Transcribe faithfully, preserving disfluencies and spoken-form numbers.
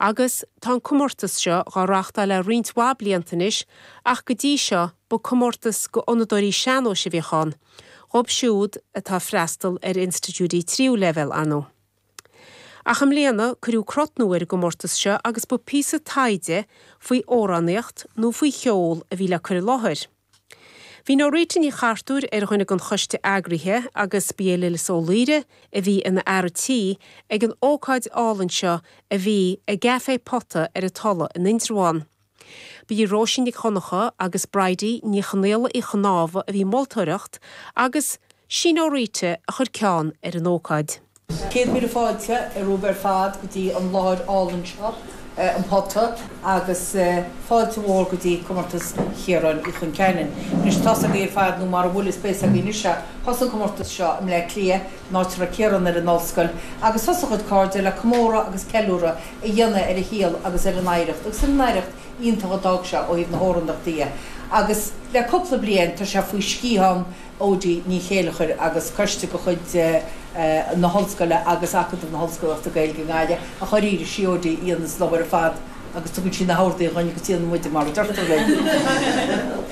Agus tá an comórtas seo á reáchtáil le roinnt mhaith blianta anois ach go dtí seo ba comórtas do fhonnadóirí sean-nóis a bhíodh ann, dóibh siúd atá ag freastal ar institiúidí tríú leibhéal ar ndóigh. Ach i mbliana cuireadh crot nua ar an gcomórtas seo agus ba píosa taighde faoi amhránaíocht nó faoi cheol a bhí le cur i láthair. Bhí Norita Ní Chartúir ar dhuine den choiste eagraithe agus ba é Lillis Ó Laoire a bhí ina fhear tí ag an ócáid álainn seo a bhí i gCafé Pota ar an Tulaigh in Indreabhán. Ba í Róisín Nic Dhonncha agus Bridie Ní Chonaola Uí Chnámha a bhí ag moltóireacht agus sí Norita a chuir ceann ar an ócáid. Céad míle fáilte romhaibh ar fad go dtí an láthair álainn seo an Pota agus fáilte mhór go dtí comórtas Chiaráin Uí Chonceanainn. Anois tá a fhios agaibh ar fad nó mura bhfuil is beidh a fhios agaibh anois thosaigh an comórtas seo i mBleá Cliath in áit a raibh Ciarán ar an ollscoil agus thosaigh a chuid cairde le comóradh agus ceiliúradh a dhéanamh ar a shaol agus ar an oidhreacht agus ar an oidhreacht iontach a d'fhág sé ó thaobh na hamhránaíochta dhe. Agus le cúpla bliain tá sé faoi sciathán Odí Ní Chéilleachair agus coiste de chuid na hollscoile agus Acadamh na hOllscolaíochta Gaeilge i nGaillimh ach dháiríre sí Odí a dhéanann an obair ar fad agus tugann sí na horduithe dhúinn agus déanann muide mar a deirtear linn.